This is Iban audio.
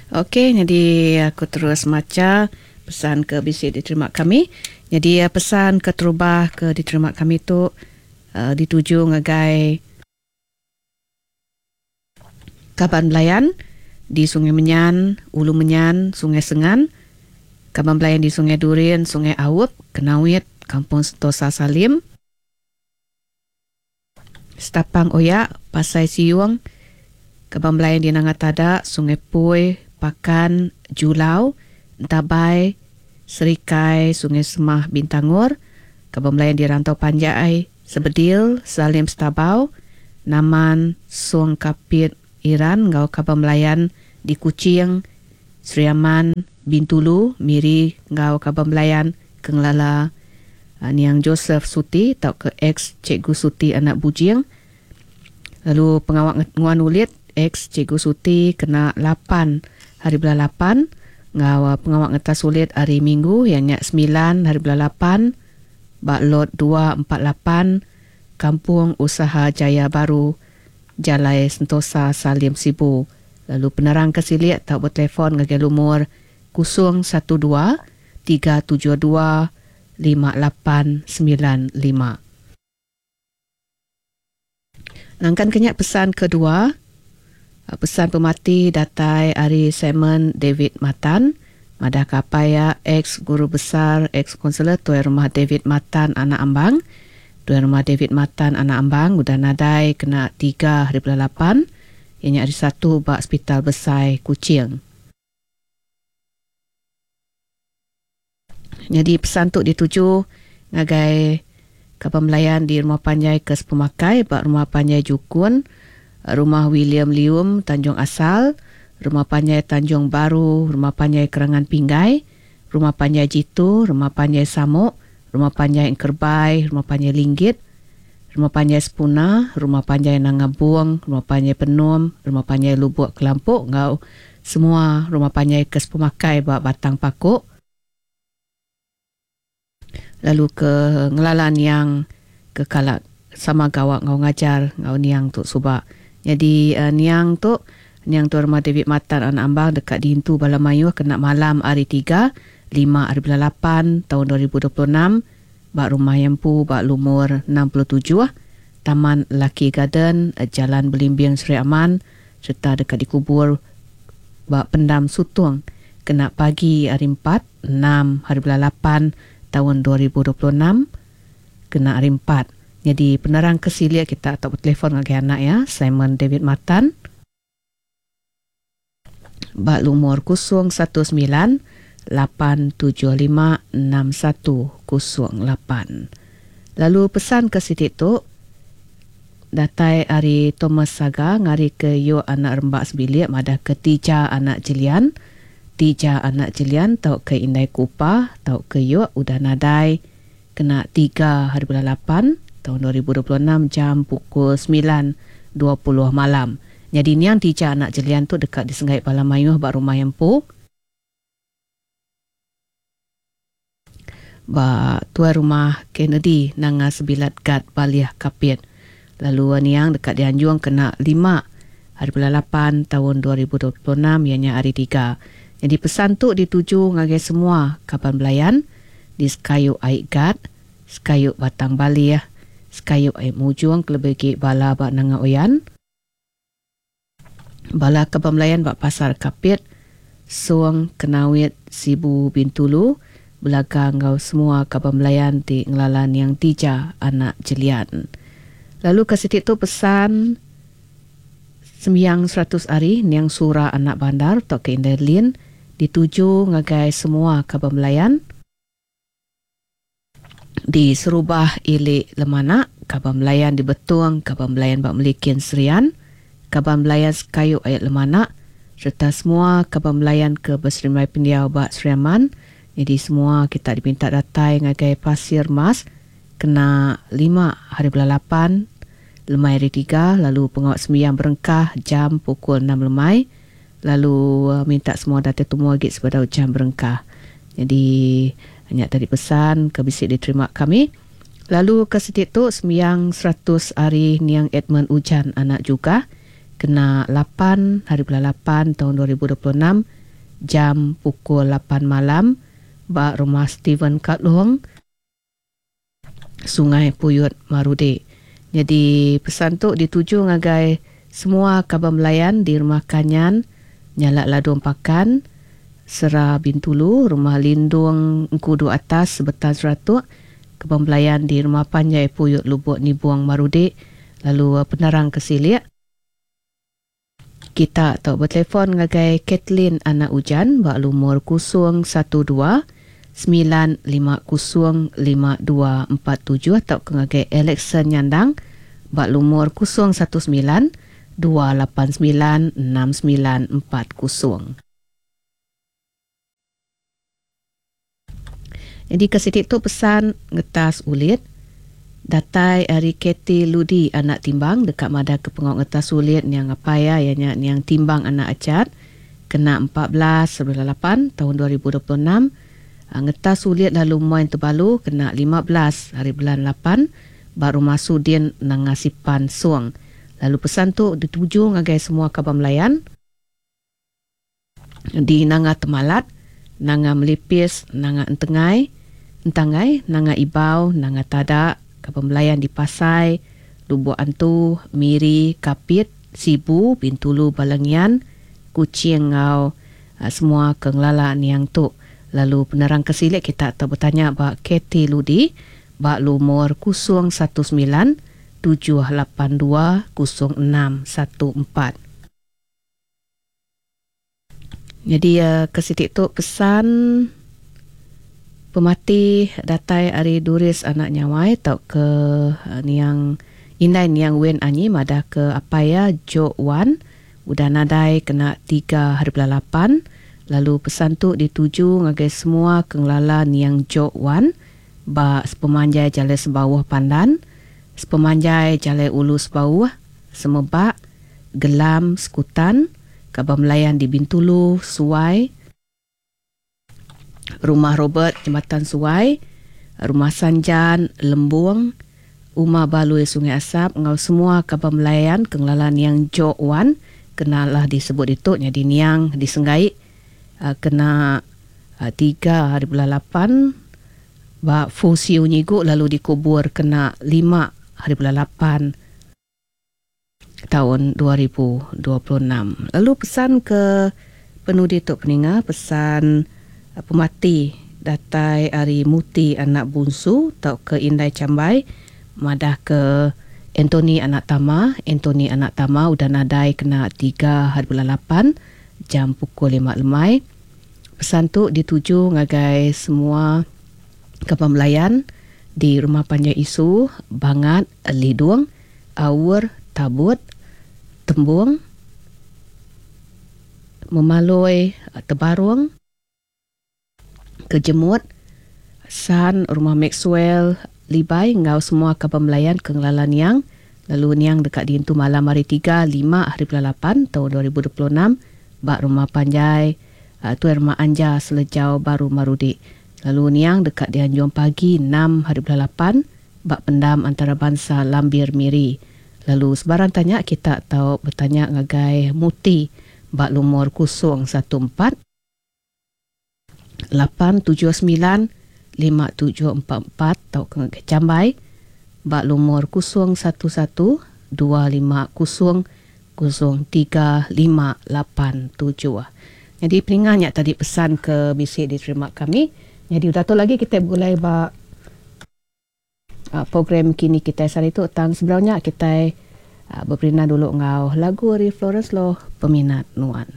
Ok nyadi aku terus macha pesan ke bisi diterima kami. Nyadi pesan keterubah ke diterima kami tu dituju ngagai kaban belayan di Sungai Menyan, Ulu Menyan, Sungai Sengan, kaban belayan di Sungai Durin, Sungai Aup, Kenawit, Kampung Sentosa Salim, Setapang Oya, Pasai Siung, Kaban Belayan di Nanga Tada, Sungai Pui, Pakan, Julau, Entabai, Serikai, Sungai Semah, Bintangor, Kaban Belayan di Rantau Panjai, Sebedil, Salim Setabau, Naman, Song Kapit, Iran enggau Kaban Belayan di Kuching, Sri Aman, Bintulu, Miri enggau Kaban Belayan ke ngelala niang Joseph Suti tauka ex Cikgu Suti anak Bujing lalu pengawa nguan ulit ex Cikgu Suti kena lapan hari bulan lapan enggau pengawa ngetas ulit hari Minggu iya nya semilan hari bulan lapan ba Lot 248 Kampung Usaha Jaya Baru Jalai Sentosa Salim Sibu lalu penerang ke silik tau betelefon ngagai lumur 012 372 5895. Nangkan ke nya pesan kedua, pesan pemati datai ari Simon David Matan madahka apai iya ex guru besar ex konselor Tuai Rumah David Matan anak Ambang. Tuai Rumah David Matan anak Ambang udah nadai kena tiga hari bulan lapan iya nya hari Satu ba Sepital Besai Kuching. Nyadi pesan tu dituju ngagai kaban belayan di Rumah Panjai ke Sepemakai ba Rumah Panjai Jukun, Rumah William Lium Tanjung Asal, Rumah Panjai Tanjung Baru, Rumah Panjai Kerangan Pinggai, Rumah Panjai Jitu, Rumah Panjai Samok, Rumah Panjai Engkerbai, Rumah Panjai Linggit, Rumah Panjai Sepuna, Rumah Panjai Nanga Bung, Rumah Panjai Penum, Rumah Panjai Lubuk Kelampok enggau semua rumah panjai ke sepemakai ba Batang Paku lalu ke ngelala niang ke kala sama gawa enggau ngajar enggau niang tu suba. Nyadi niang tu, niang Tuan Rumah David Matan anak Ambang deka diintu bala mayuh kena malam hari Tiga, lima hari bulan lapan, taun 2026 ba Rumah iya empu ba lumur 67, Taman Lucky Garden, Jalan Belimbing Sri Aman sereta deka dikubur ba Pendam Sutong kena pagi hari Empat, enam hari bulan lapan taun 2026 kena hari Empat. Nyadi penerang ke silik kita tau betelefon ngagai anak iya Simon David Matan ba lumur 019 875 6108. Lalu pesan ke siti tu datai ari Thomas Saga ngarika Yok anak Rembak sebilik madahka Tija anak Jelian. Tija anak Jelian tauka Indai Kupa tauka Yok udah nadai kena tiga hari bulan lapan taun 2026 jam pukul 9.20 malam. Nyadi niang Tija anak Jelian tu deka disenggai bala mayuh ba rumah iya empu. Ba tuai rumah Kennedy nanga Sebilat Gat Balih Kapit. Lalu niang deka dianjung kena lima hari bulan lapan taun 2026 iya nya hari Tiga. Nyadi pesan tu dituju ngagai semua kaban belayan di sekayu ai Gat, sekayu Batang Balih, sekayu ai Mujong kelebih agi bala ba Nanga Oyan. Bala kaban belayan ba Pasar Kapit, Song, Kenawit, Sibu, Bintulu, Belaga enggau semua kaban belayan ti ngelala niang Tija anak Jelian. Lalu ke siti tu pesan sembiang 100 ari niang Sura anak Bandar tauka Indai Lin dituju ngagai semua kaban belayan. Di Serubah ili Lemanak, kaban belayan di Betong, kaban belayan ba Melikin Serian, kaban belayan sekayu ayat Lemanak sereta semua kaban belayan ke beserimbai pendiau ba Sri Aman. Nyadi semua kita dipinta datai ngagai Pasir Mas kena lima hari bulan lapan lemai hari Tiga lalu pengawa sembiang berengkah jam pukul enam lemai lalu minta semua datai tumu agi sebedau jam berengkah. Nyadi nya tadi pesan ke bisi diterima kami. Lalu ke siti tu sembiang 100 ari niang Edmund Ujan anak Jugah kena lapan hari bulan lapan taun 2026. jam pukul lapan malam ba Rumah Stephen Katlong, Sungai Puyut Marudi. Nyadi pesan tu dituju ngagai semua kaban belayan di Rumah Kanyan, Nyalak Ladung Pakan, Sera Bintulu, Rumah Lindung Engkudu Atas, Sebetan Seratuk, kaban belayan di Rumah Panjai Puyut Lubok Nibong Marudi lalu penerang ke silik. Kita tau betelefon ngagai Kathleen Anak Ujan ba lumur 012 950 5247 tauka ngagai Alexson Nyandang ba lumur 019 289 6940. Nyadi ke siti tu pesan ngetas ulit datai ari Kathy Ludi anak Timbang deka madah ke pengawa ngetas ulit niang apai iya iya nya niang Timbang anak Achat kena 14 bulan lapan taun 2026 ngetas ulit lalu muai tebalu kena 15 hari bulan lapan ba Rumah Sudin Nanga Sipan Song lalu pesan tu dituju ngagai semua kaban belayan. Di Nanga Temalat, Nanga Melipis, Nanga Entengai, Entangai, Nanga Ibau, Nanga Tada, Kaban Belayan di Pasai, Lubok Antu, Miri, Kapit, Sibu, Bintulu, Balangian, Kuching enggau semua ke ngelala niang tu. Lalu penerang ke silik kita tau betanya ba Kathy Ludi ba lumur 019 782 0614. Nyadi ke siti tu pesan pemati datai ari Duris anak Nyawai tauka niang indai niang Wen Anyi madah ke apai iya Jok Wan udah nadai kena tiga hari bulan lapan lalu pesan tu dituju ngagai semua ke ngelala niang Jok Wan ba sepemanjai Jalai Sebauh Pandan, sepemanjai Jalai Ulu Sebauh, Semebak, Gelam, Sekutan, Kaban Belayan di Bintulu, Suai, Rumah Robert, Jembatan Suai, Rumah Sanjan, Lembung, Uma Balui Sungai Asap enggau semua kaban belayan ke ngelala niang Jok Wan kena lah disebut ditu nyadi niang disenggai kena tiga hari bulan lapan ba Fu Siu Nyigu lalu dikubur kena lima hari bulan lapan. Taun 2026. Lalu pesan ke penudi tu peninga pesan pemati datai ari Muti anak Bunsu tauka Indai Chambai madah ke Anthony anak Tama, Anthony anak Tama udah nadai kena tiga hari bulan lapan jam pukul lima lemai. Pesan tu dituju ngagai semua kaban belayan di Rumah Panjai Isu, Bangat, Lidung, Aur, Tabut, Tembung, Memaloi, Tebarung, Kejemut, San, Rumah Maxwell, Libai enggau semua kaban belayan ke ngelala niang lalu niang deka diintu malam hari Tiga, lima hari bulan lapan taun 2026 ba Rumah Panjai Tuai Rumah Anja Selejau Baru Marudi lalu niang deka dianjung pagi enam hari bulan lapan ba pendam antarabansa Lambir Miri. Lalu sebarang tanya kita tau betanya ngagai Muti ba lumur 014 879 5744 tauka ngagai Chambai ba lumur 011 250 03587. Nyadi peninga nya tadi pesan ke bisi diterima kami. Nyadi udah tu lagi kitai begulai ba Program kini kitai sehari tu tang sebedau nya kitai beperindang dulu enggau lagu ari Florence Loh Peminat Nuan.